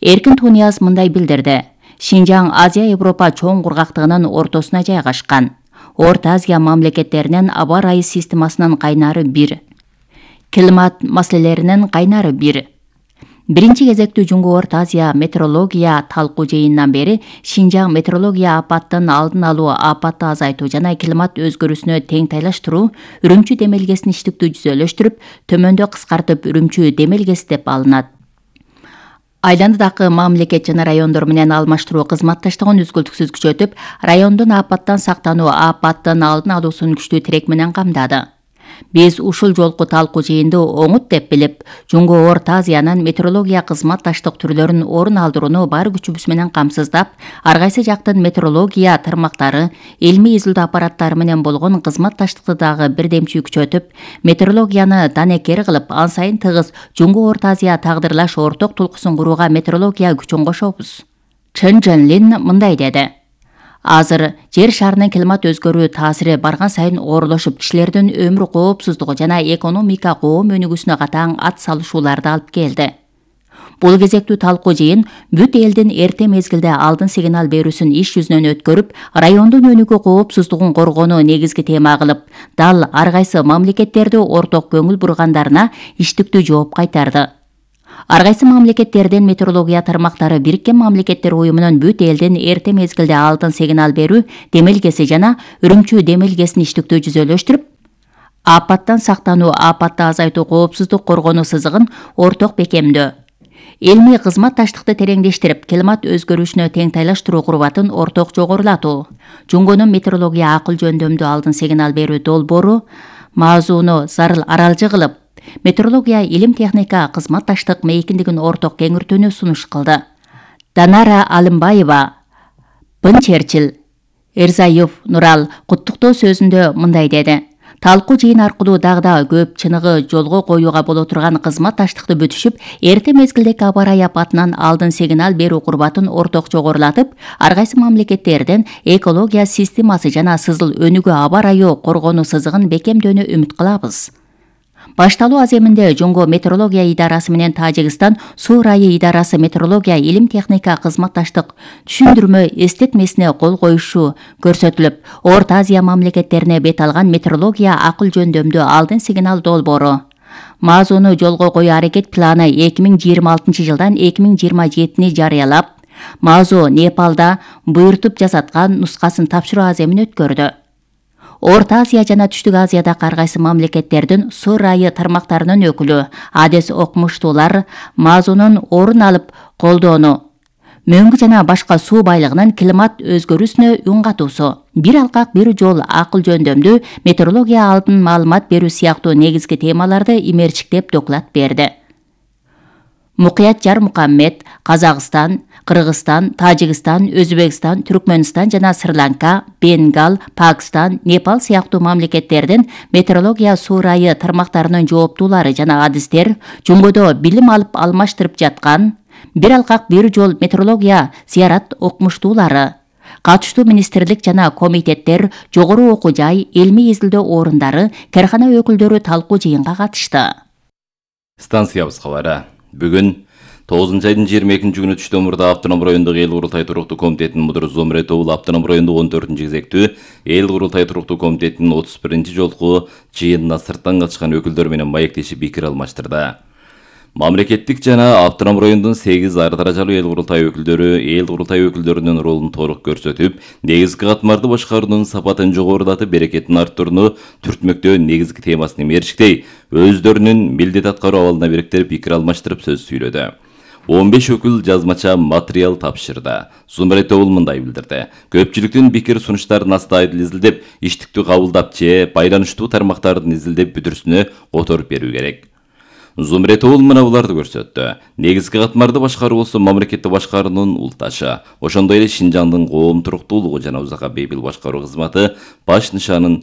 Эркин Тунияз мындай билдирди. Шинжаң Азия-Европа чоң кургактыгынын ортосуна жайгашкан. Орто Азия мамлекеттеринин аба ырайы системасынын кайнары бир. Климат маселелеринин кайнары бир. Биринчи кезекте Жуңгу Орто Азия метеорология талкуу жыйынынан бери Шинжаң метеорология апаттын алдын алуу, апатты азайтуу жана климат өзгөрүүсүнө тең тайлаштыруу Үрүмчү демелгесин иштиктүү жүзөлөштүрүп, төмөндө кыскартып Үрүмчү демелгеси деп алынат. Айландыдагы мамлекет жана райондор менен алмаштыруу кызматташтыгын үзгүлтүксүз күчөтүп, райондун апаттан сактануу, апаттын алдын алуусун күчтүү тирек менен камдады. Биз ушул жолку талкуу жыйынды оңут деп билип, Жуңгу Орто Азиянын метеорология кызматташтык түрлөрүн орун алдырууну бар күчүбүз менен камсыздап, ар кайсы жактын метеорология тармактары, илмий изилдөө аппараттары менен болгон кызматташтыкты дагы бирдемчүү күчөтүп, метеорологияны данекер кылып, ан сайын тыгыз Жуңгу Орто Азия тагдырлаш орток тулкуусун курууга метеорология күчүн кошобуз. Чен Жэнлин мындай деди. Азыр жер шарынын климат өзгөрүү таасири барган сайын оорлошуп, кишилердин өмүр коопсуздугу жана экономика коом өнүгүүсүнө катаң ат салышууларды алып келди. Бул кезектүү талкуу жыйын бүт элдин эрте мезгилде алдын сигнал берүүсүн иш жүзүнөн өткөрүп, райондун өнүгүү коопсуздугун коргоону негизги тема кылып, дал ар кайсы мамлекеттерди орток көңүл бургандарына иштиктүү жооп кайтарды. Ар кайсы мамлекеттердин метеорология тармактары Бириккен Мамлекеттер Уюмунун бүт элдин эрте мезгилде алдын сигнал берүү демелгеси жана Үрүмчү демелгесин иштиктүү жүзөлөштүрүп, апаттан сактануу, апатты азайтуу, коопсуздук коргонуу сызыгын орток бекемдөө, илмий кызматташтыкты тереңдештирип, климат өзгөрүүсүнө тең тайлаштыруу курбатын орток жогорулатуу, Жуңгунун метеорология акыл жөндөмдүү алдын сигнал берүү долбоору маазууну зарыл аралжы кылып, метеорология илим техника кызматташтык мейкиндигин орток кеңиртүүнү сунуш кылды. Данара Алымбаева, Бын Черчил, Эрзаев Нурал куттуктоо сөзүндө мындай деди. Талкуу жыйын аркылуу дагы көп чыныгы жолго коюуга боло турган кызматташтыкты бүтүшүп, эрте мезгилдеги аба ырайы апатынан алдын сигнал берүү курбатын орток жогорулатып, ар кайсы мамлекеттердин экология системасы жана сызыл өнүгүү аба ырайы коргонуу сызыгын бекемдөөнү үмүт кылабыз. Башталуу аземинде Жуңгу метеорология идарасы менен Тажикстан суу ырайы идарасы метеорология илим техника кызматташтык түшүндүрмө эстетмесине кол коюшу көрсөтүлүп, Орто Азия мамлекеттерине бет алган метеорология акыл жөндөмдүү алдын сигнал долбоору маазууну жолго коюу аракет планы 2026-жылдан 2027 жарыялап, маазуу Непалда буйртуп жасаткан нускасын тапшыруу аземин өткөрдү. Орто Азия жана Түштүк Азияда ар кайсы мамлекеттердин суу ырайы тармактарынын өкүлү, адес окумуштуулар маазунун орун алып колдоону, мөңгү жана башка суу байлыгынын климат өзгөрүүсүнө үн катуусу, бир алкак бир жол акыл жөндөмдүү метеорология алдын маалымат берүү сыяктуу негизги темаларды имерчиктеп доклад берди. Мукуят Жармухаммед, Казакстан, Кыргызстан, Тажикстан, Өзбекстан, Түркмөнстан жана Шри-Ланка, Бенгал, Пакистан, Непал сыяктуу мамлекеттердин метеорология суу ырайы тармактарынын жооптуулары жана адистер Жуңгудо билим алып алмаштырып жаткан бир алкак бир жол метеорология зыярат окумуштуулары, катыштуу министрлик жана комитеттер, жогору окуу жай, илмий изилдөө орундары, каркана өкүлдөрү талкуу жыйынга катышты. Станциябыз кабары. Бүгүн 9-айдын 22-күнү түштөн мурда Автоном райондогу эл курултай туруктуу комитетинин мудуру Зомрет Оул Автоном райондогу 14-кезектүү эл курултай туруктуу комитетинин 31-жолку жыйынына сырттан катышкан өкүлдөр менен маектешип пикир алмаштырды. Мамлекеттик жана Автоном райондун 8 ар даражалуу эл курултай өкүлдөрүнүн ролун толук көрсөтүп, негизги катмарды башкаруунун сапатын жогорулатып, берекетин арттырууну түртмөктөө негизги темасын эмерчиктей, өздөрүнүн милдет аткаруу абалына бириктирип пикир алмаштырып сөз сүйлөдү. 15 өкүл жазмача материал тапшырды. Зумрет Оул мындай билдирди. Көпчүлүктүн пикир сунуштарын астайдыл изилдеп, иштиктүү кабылдап же байланыштуу тармактардын изилдеп бүтүрүсүнө которуп берүү керек. Зумрет Оул мына буларды көрсөттү. Негизги катмарды башкаруусу мамлекетти башкаруунун улташы, ошондой эле Шинжаңдын коом туруктуулугу жана узакка бейпил башкаруу кызматы баш нышанын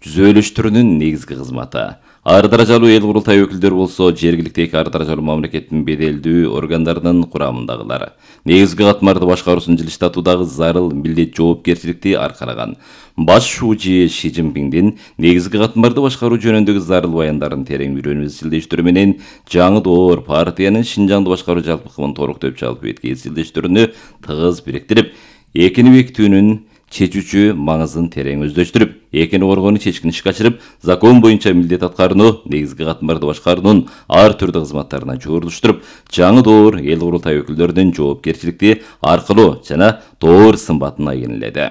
жүзөлөштүрүүнүн негизги кызматы. Ар даражалуу эл курултай өкүлдөрү болсо жергиликтеги ар даражалуу мамлекеттин беделдүү органдарынын курамындагылар. Негизги катмарды башкаруусун жылыштатуудагы зарыл милдет жоопкерчиликти аркалаган. Баш шуучу Ши Цзиньпиндин негизги катмарды башкаруу жөнүндөгү зарыл баяндарын терең үйрөнүү изилдештөрү менен жаңы доор партиянын Шинжаңды башкаруу жалпыкымын толуктоп жалпы бетке изилдештөрүнү тыгыз бириктирип, экини бекитүүнүн чечүүчү маңызын терең өздөштүрүп, экини коргоону чечкин ишке ашырып, закон боюнча милдет аткарууну, негизги катмарды башкаруунун ар түрдүү кызматтарына жогорулуштуруп, жаңы доор эл курултай өкүлдөрүнүн жоопкерчиликти аркылуу жана доор сымбатын айгинеледи.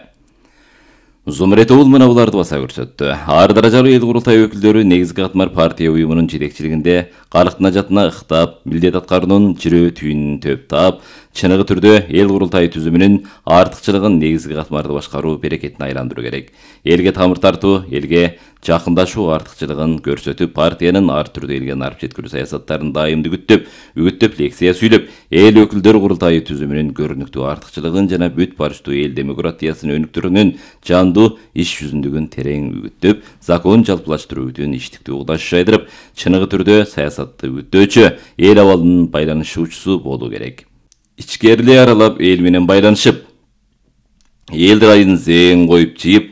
Зумретоул мына буларды баса көрсөттү. Ар даражалуу эл курултай өкүлдөрү негизги катмар партия уюмунун жетекчилигинде калктын ажатына ыктап, милдет аткаруунун жирөө түйүнүн төп таап, чыныгы түрдө эл курултай түзүмүнүн артыкчылыгын негизги катмарды башкаруу берекетине айландыруу керек. Элге тамыр тартуу, элге жакындашуу артыкчылыгын көрсөтүп, партиянын ар түрдүү элге нарып жеткирүү саясаттарын дайымды үгүттөп лекция сүйлөп, эл өкүлдөр курултайы түзүмүнүн көрүнүктүү артыкчылыгын жана бүт барыштуу эл демократиясынын өнүктүрүүнүн жандуу иш жүзүндүгүн терең үгүттөп, закон жалпылаштыруудун иштиктүү угдаш жайдырып, чыныгы түрдө саясатты үгүттөөчү, эл абалынын байланышуучусу болуу керек. Ичкерилей аралап эл менен байланышып, эл райын зээн коюп жыйып,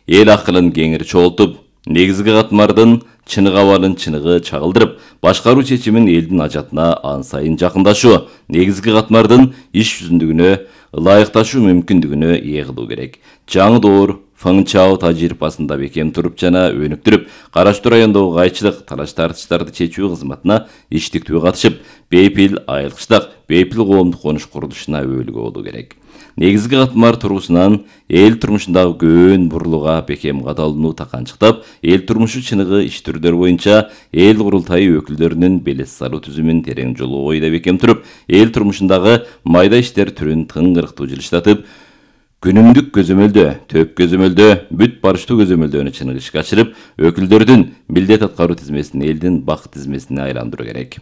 эл акылын кеңири чогултуп, негизги катмардын чыныгы абалын чыныгы чагылдырып, башкаруу чечимин элдин ажатына ан сайын жакындашуу, негизги катмардын иш жүзүндүгүнө ылайыкташуу мүмкүндүгүнө ээ кылуу керек. Жаңы доор Фэн Чао тажрыйбасында бекем туруп жана өнүктүрүп, караштуу райондогу кайчылык, талаш тартыштарды чечүү кызматына иштиктүү катышып, бейпил айылкычтык, бейпил коомдук конуш курулушуна өбөлгө болуу керек. Негизги катмар тургусунан эл турмушундагы көөн бурлууга бекем кадалууну таканчыктап, эл турмушу чыныгы иш түрдөр боюнча эл курултайы өкүлдөрүнүн белес салуу түзүмүн терең жолоо ойда бекем туруп, эл турмушундагы майда иштер түрүн тыңгырыктуу жылыштатып, күнүмдүк көзөмөлдө, төп көзөмөлдө, бүт барыштуу көзөмөлдөнү чыныгы ишке ашырып, өкүлдөрдүн милдет аткаруу тизмесин элдин бак тизмесине айландыруу керек.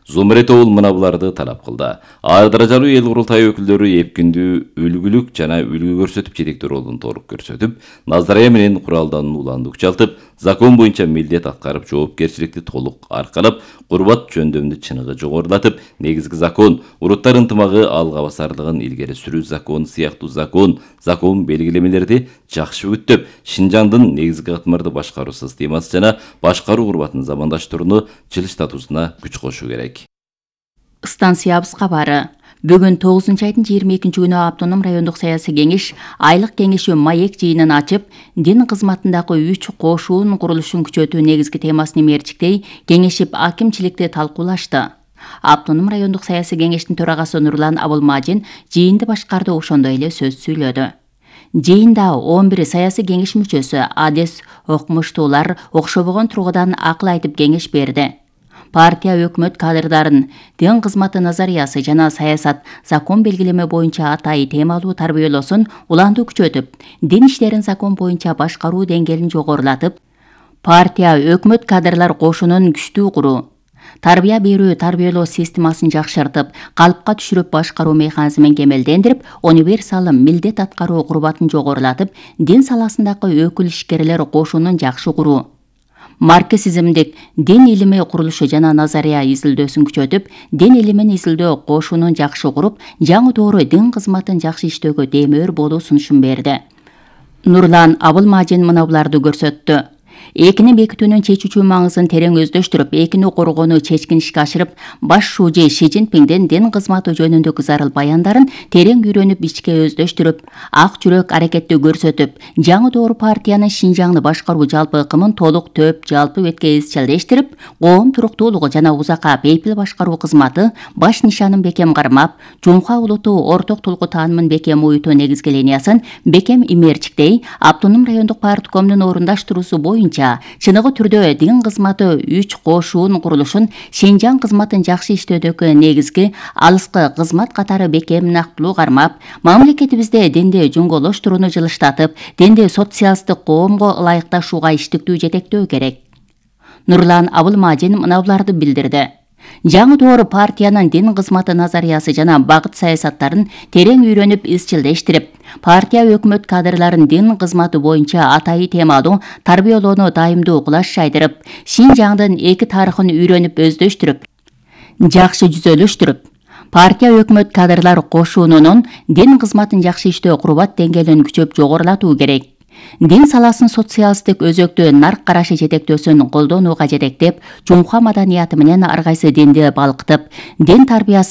Зумретоул мына буларды талап кылды. Ар даражалуу эл курултайы өкүлдөрү эпкиндүү үлгүлүк жана үлгү көрсөтүп жетектүү ролун толук көрсөтүп, Назария менен куралдануу уланды күчалтып, закон боюнча милдет аткарып, жоопкерчиликти толук аркалап, курбат жөндөмдү чыныгы жогорулатып, негизги закон, уруттар ынтымагы алга басарлыгын илгери сүрүү закону сыяктуу закон белгилемелерди жакшы үгүттөп, Шинжаңдын негизги катмарды башкаруу системасы жана башкаруу курбатын замандаштырууну жылыштатуусуна күч кошуу керек. Станциябыз кабары. Бүгүн 9-айдын 22-күнү Автоном райондук саясий кеңеш айлык кеңеши маек жыйынын ачып, дин кызматындагы 3 кошуун курулушун күчөтүү негизги темасын мерчиктей кеңешип акимчиликти талкуулашты. Автоном райондук саясий кеңештин төрагасы Нурлан Абылмажин жыйынды башкарды, ошондой эле сөз сүйлөдү. Жыйында 11 саясий кеңеш мүчөсү адес окумуштуулар окшобогон тургудан акыл айтып кеңеш берди. Партия өкмөт кадрдарын дин кызматы назариясы жана саясат закон белгилеме боюнча атайы темалуу тарбиялоосун уланды күчөтүп, дин иштерин закон боюнча башкаруу деңгээлин жогорулатып, партия өкмөт кадрлар кошунун күчтүү куруу, тарбия берүү тарбиялоо системасын жакшыртып, калыпка түшүрүп башкаруу механизмин кемелдендирип, универсалым милдет аткаруу курбатын жогорулатып, дин саласындагы өкүл ишкерлер кошунун жакшы куруу, марксизмдик дин илими курулушу жана назария изилдөөсүн күчөтүп, дин илимин изилдөө кошунун жакшы куруп, жаңы доору дин кызматын жакшы иштөөгө демөөр болуу сунушун берди. Нурлан Абылмажин мына буларды көрсөттү. Экини бекитүүнүн чечүүчү маңызын терең өздөштүрүп, экини коргоону чечкин ишке ашырып, баш шуучу Ши Цзиньпиндин дин кызматы жөнүндөгү зарыл баяндарын терең үйрөнүп, ичке өздөштүрүп, ак жүрөк аракетти көрсөтүп, жаңы доор партиянын Шинжаңды башкаруу жалпы ыкымын толук төп жалпы бетке изчилдештирип, коом туруктуулугу жана узакка бейпил башкаруу кызматы баш нишанын бекем кармап, жумха улуту орток тулку таанымын бекем уютуу негизги линиясын бекем имерчиктей, Автоном райондук парткомдун орундаштыруусу боюнча чыныгы түрдө дин кызматы 3 кошуун курулушун Шинжаң кызматын жакшы иштөөдөгү негизги алыскы кызмат катары бекем нактылуу кармап, мамлекетибизде динди жуңголоштурууну жылыштатып, динди социалисттик коомго ылайыкташууга иштиктүү жетектөө керек. Нурлан Абылмажин мына буларды билдирди. Жаңы доор партиянын дин кызматы назариясы жана багыт саясаттарын терең үйрөнүп изчилдештирип, партия өкмөт кадрларын дин кызматы боюнча атайы темалуу тарбиялоону дайымдуу кылаш жайдырып, Шинжаңдын эки тарыхын үйрөнүп өздөштүрүп, жакшы жүзөлүштүрүп, партия өкмөт кадрлар кошунунун дин кызматын жакшы иштөө курбат деңгээлин күчөп жогорулатуу керек. Дин саласын социалисттик өзөктүү нарк карашы жетектөөсүн колдонууга жетектеп, жумха маданияты менен ар кайсы динди балкытып, дин тарбиясы